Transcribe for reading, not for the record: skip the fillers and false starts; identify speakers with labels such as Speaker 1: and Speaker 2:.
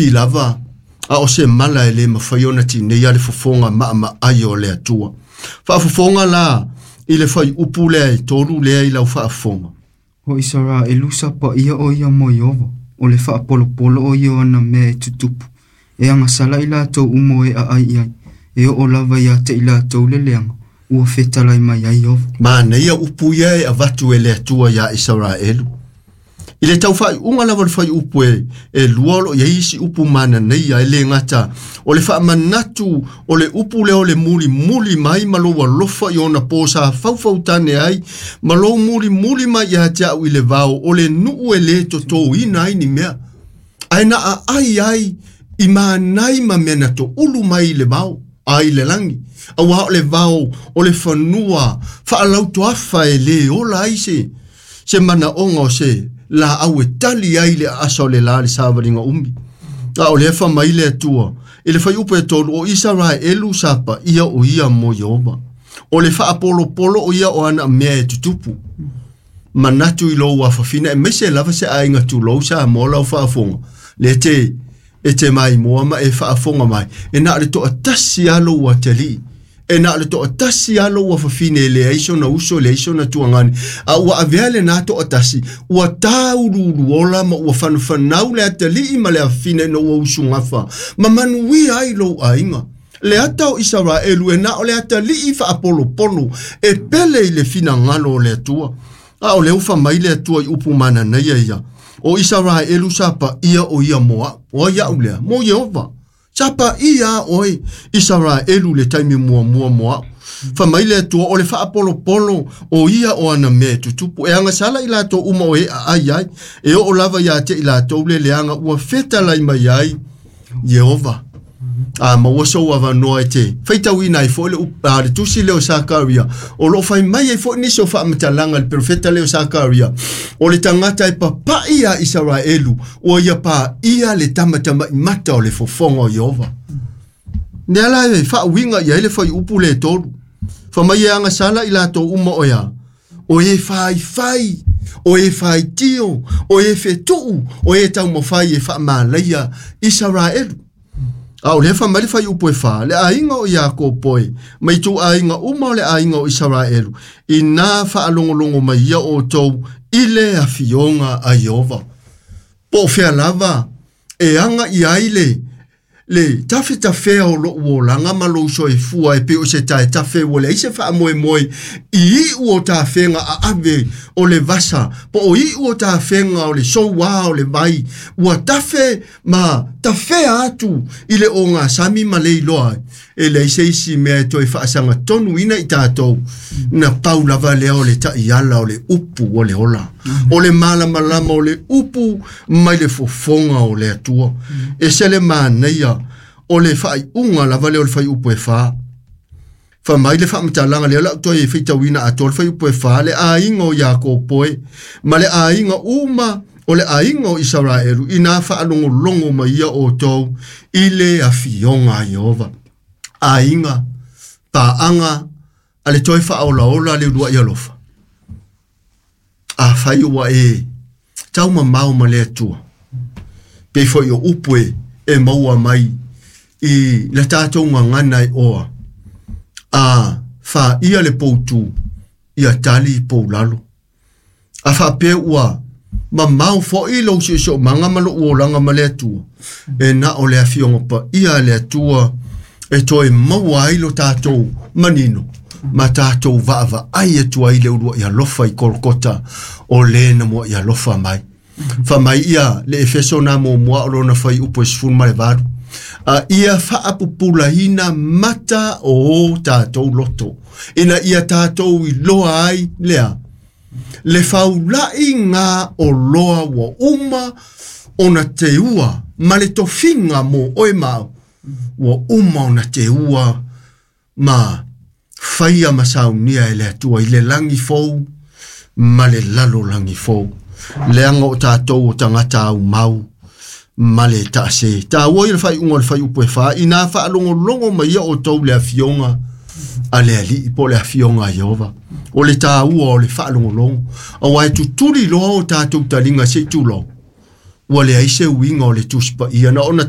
Speaker 1: afi lava a o se mala e le mafai ona tineia le fofoga maamaai o le Atua. Faafofoga la i le fuaiupu lea e 3 lea i lau faafofoga.
Speaker 2: O Isaraelu sa paia o ia mo Ieova, o le faapolopolo o ia o ana mea e tutupu, e agasala i latou uma o e aai i ai, e oo lava ia te i latou le leaga, ua fetalai mai ai Ieova.
Speaker 1: Manaia upu ia e avatu e le Atua ia Isaraelu. I le tau faaiuga lava o le fuaiupu e 2 o lo o i ai isi upu manaia e le gata o le faamanatu o le upu lea o le mulimuli mai ma lou alofa i ona po sa faufautane ai ma lou mulimuli mai ia te au i le vao o le nuu e le totoina ai ni mea. Ae na aai ai i manai ma mea na toulu mai i le vao ai le langi. Aua o le vao o le fanua faalautoafa e le ola ai se manaoga o se la au e tali ai le aasa o le la le savaliga umi. A o lea faamai le Atua i le fuaiupu e 3 o Isaraelu sa paia o ia mo Ieova. O le faapolopolo o ia o ana mea e tutupu. Manatu i lou afafina e maise lava se aiga tulou sa mo lau faafofoga. Le te e te mai moa ma e faafofoga mai. E na o le toatasi lava lou atalii. E na o le toatasi lava lou afafine e leai sona uso, leai sona tuagane. A ua avea lena toatasi, ua tāuluuluola ma ua fanafanau le atalii ma le afafine ina ua usugafa. Ma manuia ai lou aiga. Le ata o Isaraelu e na o le atalii faapolopolo e pele i le finagalo o le Atua. A o le ufa mai le Atua i upu mananaia ia. O Isaraelu sa paia o ia moa. O ai au lea, mo Ieova. Sa paia oe Isaraelu le taimi muamua moa. Fa mai le Atua o le faapolopolo o ia o ana mea e tutupu. E agasala i latou uma o e aai ai. E oo lava ia te i latou le leaga ua fetalai mai ai Ieova. A maua sou avanoa e te faitauina ai foi le tusi lea o Sakaria. O loo fai mai ai foi nisi o faamatalaga le profeta lea o Sakaria. O le tagata e papai a Isaraelu ua ia paia le tamatamai mata o le fofoga o Ieova. Nea la e faauiga i ai le fuaiupu le 3. Fa mai e agasala i latou uma o ea. O e faifai, o e faitio, o e fetuu, o e taumafai e faamalaia Isaraelu. A o lea faamai le fuaiupu e 4, le aiga o Iakopo e, mai ituaiga uma o le aiga o Isaraelu, ina faalogologo mai ia outou i le afioga a Ieova. Po o fea lava e aga i ai le tafetafea o lou olaga ma lou soifua e pei o se taetafe ua leai se faamoemoe i iu o tafega aave o le vasa, po o iu o tafega o le souā o le vai, ua tafe ma tafea atu i le ogasami ma le iloa ai. E leai se isi mea e toe faasagatonuina i tatou, na pau lava lea o le taiala o le upu o le ola. O le malamalama o le upu mai le fofoga o le Atua. E se le manaia o le faaiuga lava lea o le fuaiupu e 4. Fa mai le faamatalaga lea lau toe faitauina atoa le fuaiupu e 4, le aiga o Iakopo e, ma le aiga uma o le aiga o Isaraelu, ina faalogologo mai ia outou i le afioga a Ieova. Aiga, paaga, a le toe faaolaola le uluai alofa. A fai ua e taumamao ma le Atua. Pei foi o upu e maua mai i le tatou gagana e oa. A faia le poutu ia tali poulalo. A faapea ua mamao foi lou siosiomaga ma lou olaga ma le Atua. E na o le afioga paia a le Atua e toe maua ai lo tatou manino ma tatou vaavaai atu ai le uluai alofa i Kolokota o le na muai alofa mai. Fa mai ia le Efeso na muamua o lona fuaiupu e 18. A ia faapupulaina mata o tatou loto. Ina ia tatou iloa ai lea. Le faulai ngā o loa ua uma ona teua ma le tofiga mo oe mau. Ua uma ona teua ma faia ma saunia e le Atua i le langi fou ma le lalolagi fou. Leaga o tatou o tagata aumau ma le taase. Taua i le faaiuga o le fuaiupu e 4, ina faalogologo mai ia outou le afioga a le Alii po o le afioga a Ieova. O le taua o le faalogologo. Aua e tutuli loa o tatou taliga se i tulou. Ua leai se uiga o le Tusi Paia na ona